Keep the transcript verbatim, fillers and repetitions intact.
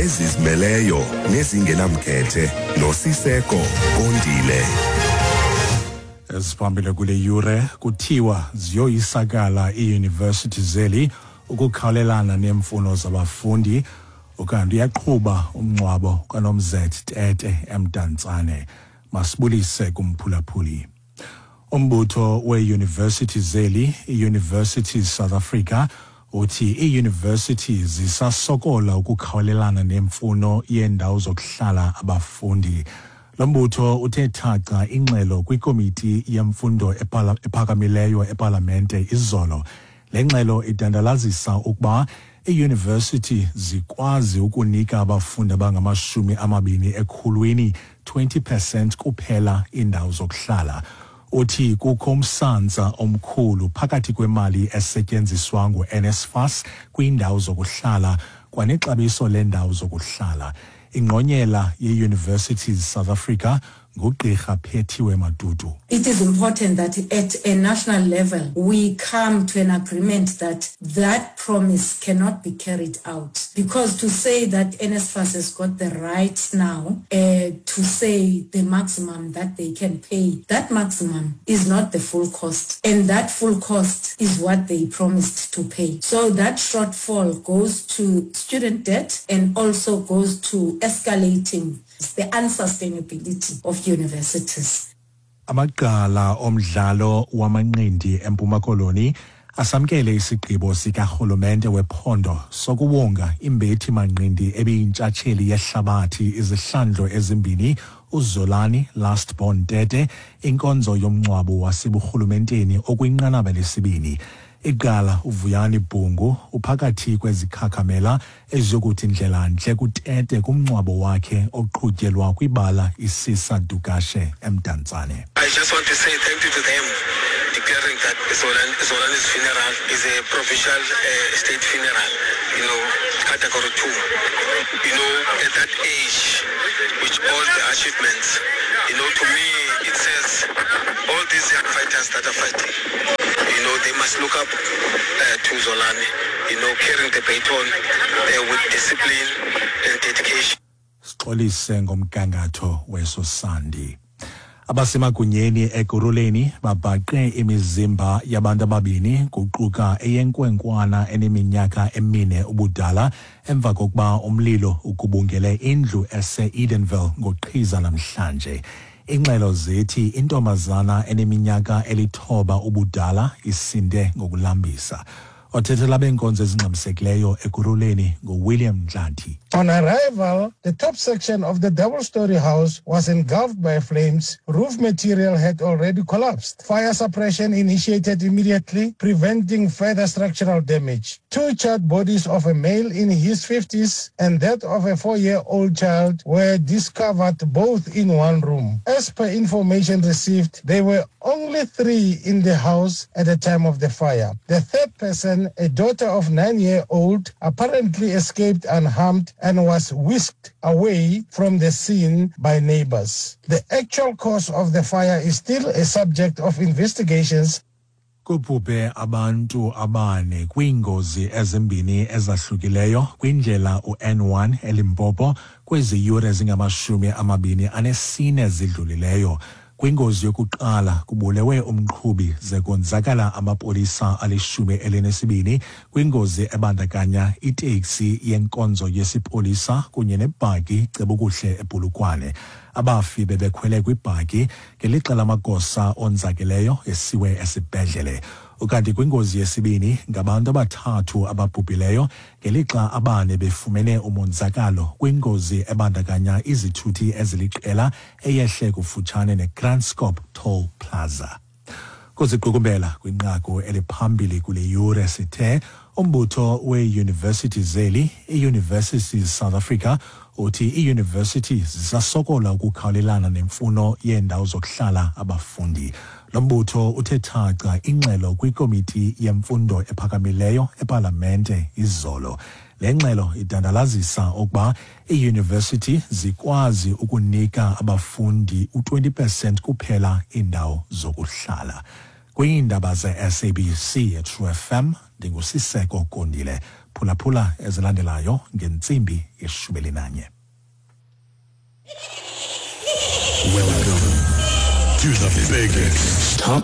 Ezizimeleyo nezingenamkhethe noSiseko Kondile. Eziphambili kule yure kuthiwa ziyoyisakala iiyunivesithi zeli ukukhawulelana neemfuno zabafundi, ukanti uyaqhuba umngcwabo kaNomzet Tete eMdantsane. Masibulise kumphulaphuli. Umbutho weeyunivesithi zeli, i-Universities South Africa, uthi iiyunivesithi zisasokola ukukhawulelana nemfuno yeendawo zokuhlala abafundi. Lo mbutho uthe thaca ingxelo kwikomiti yemfundo ephakamileyo epalamente izolo. Le ngxelo idandalazisa ukuba iiyunivesithi zikwazi ukunika abafundi abangamashumi amabini ekhulwini twenty percent kuphela iindawo zokuhlala. Uthi kukho umsantsa omkhulu phakathi kwemali esetyenziswa ngu-N S F A S kwiindawo zokuhlala kwanexabiso leendawo zokuhlala. Ingqonyela ye-Universities South Africa nguGqirha Phethiwe Matutu. It is important that at a national level we come to an agreement that that promise cannot be carried out. Because to say that N S F A S has got the right now uh, to say the maximum that they can pay, that maximum is not the full cost. And that full cost is what they promised to pay. So that shortfall goes to student debt and also goes to escalating the unsustainability of universities. Amagqala omdlalo wamanqindi eMpuma Koloni asamkele isigqibo sikarhulumente wephondo sokuwonga imbethi manqindi ebiyintshatsheli yehlabathi izihlandlo ezimbini uZolani Last Born Tete inkonzo yomngcwabo waseburhulumenteni okwinqanaba lesibini. Iqala uVuyani Bhungu uphakathi kwezikhakhamela eziyokuthi ndlela-ntle kuTete kumngcwabo wakhe oqhutyelwa kwibala iSisa Dukashe eMdantsane. I just want to say thank you to them, declaring that Zolan, Zolani's funeral is a provincial uh, state funeral, you know, category two. You know, at that age, with all the achievements, you know, to me, it says all these young fighters that are fighting, you know, they must look up uh, to Zolani, you know, carrying the baton uh, with discipline and dedication. Sixolise ngomgangatho weso sandi. Abasemagunyeni Ekurhuleni babhaqe imizimba yabantu ababini, kuquka eyenkwenkwana eneminyaka emine ubudala, emva kokuba umlilo ugubungele indlu ese-Edenville ngoqhiza namhlanje. Ingxelo zithi intombazana eneminyaka elithoba ubudala isinde ngokulambisa. Othethela beenkonzo ezingxamisekileyo Ekurhuleni nguWilliam Ntlanti. On arrival, the top section of the double-story house was engulfed by flames. Roof material had already collapsed. Fire suppression initiated immediately, preventing further structural damage. Two charred bodies of a male in his fifties and that of a four-year-old child were discovered, both in one room. As per information received, there were only three in the house at the time of the fire. The third person, a daughter of nine-year-old, apparently escaped unharmed and was whisked away from the scene by neighbors. The actual cause of the fire is still a subject of investigations. Kubhubhe abantu abane kwiingozi ezimbini ezahlukileyo kwindlela u-N one eLimpopo kwezi yure zingamashumi amabini anesine zidlulileyo. Kwingozi yokuqala kubulewe umqhubi ze konzakala amapolisa alishumi elinesibini kwingozi ebandakanya iteksi yenkonzo yesipolisa kunye nebhaki cebukuhle ePolokwane. Abafi bebekhwele kwibhaki ngelixa lamagosa onzakeleyo esiwe esibhedlele. Ukanti kwingozi yesibini ngabantu abathathu ababhubhileyo ngelixa abane befumene umonzakalo kwingozi ebandakanya izithuthi eziliqela eyehle kufutshane neKranskop Toll Plaza. Kuziqukumbela kwinqaku eliphambili kule yure sithe umbutho weeyunivesithi zeli, i-Universities South Africa, uthi iiyunivesithi zisasokola ukukhawulelana nemfuno yeendawo zokuhlala abafundi. Lo mbutho uthe thaca ingxelo kwikomiti yemfundo ephakamileyo epalamente izolo. Le ngxelo idandalazisa ukuba iiyunivesithi zikwazi ukunika abafundi u-twenty percent kuphela iindawo zokuhlala. Kwiindaba ze-S A B C eTrue F M, ndinguSiseko Kondile. Phulaphula ezilandelayo ngentsimbi yeshumi elinanye. Welcome to the biggest top